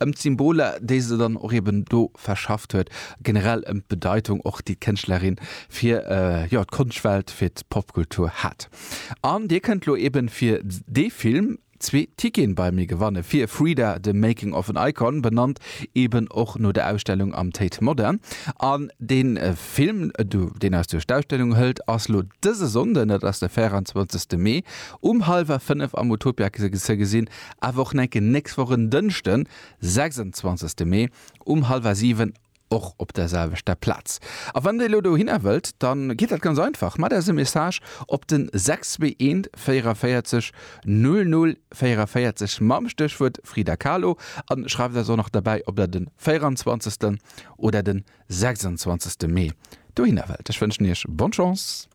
Ëm d'Symboler, déi se dann och eben do verschafft huet, generell ëm d'Bedeitung och, déi d'Kënschtlerin fir, jo, d'Konschtwelt, fir d'Popkultur hat. An Dir kënnt lo eben fir dee Film zwee Ticketen bei mir gewanne fir Frida, The Making of an Icon, benannt eben och no der Ausstellung am Tate Modern. An dee Film, deen eis duerch d'Ausstellung hëlt, ass lo dëse Sonnden, dat ass de 24. Mee, um hallwer 5 am Utopia ze gesinn, awer och nach enke nächst Woch en Dënschden, 26. Mee, um hallwer 7 Och op der selwechter Plaz. A wann dir elo dohinner wëllt, dann geet dat ganz einfach, Maacht eis e Message op den 621 44 00 44 mam Stéchwuert Frida Kahlo an schreift eis och nach derbäi, ob der den 24. Oder den 26. Mee dohinner wëllt. Ech wënschen iech bonne Chance!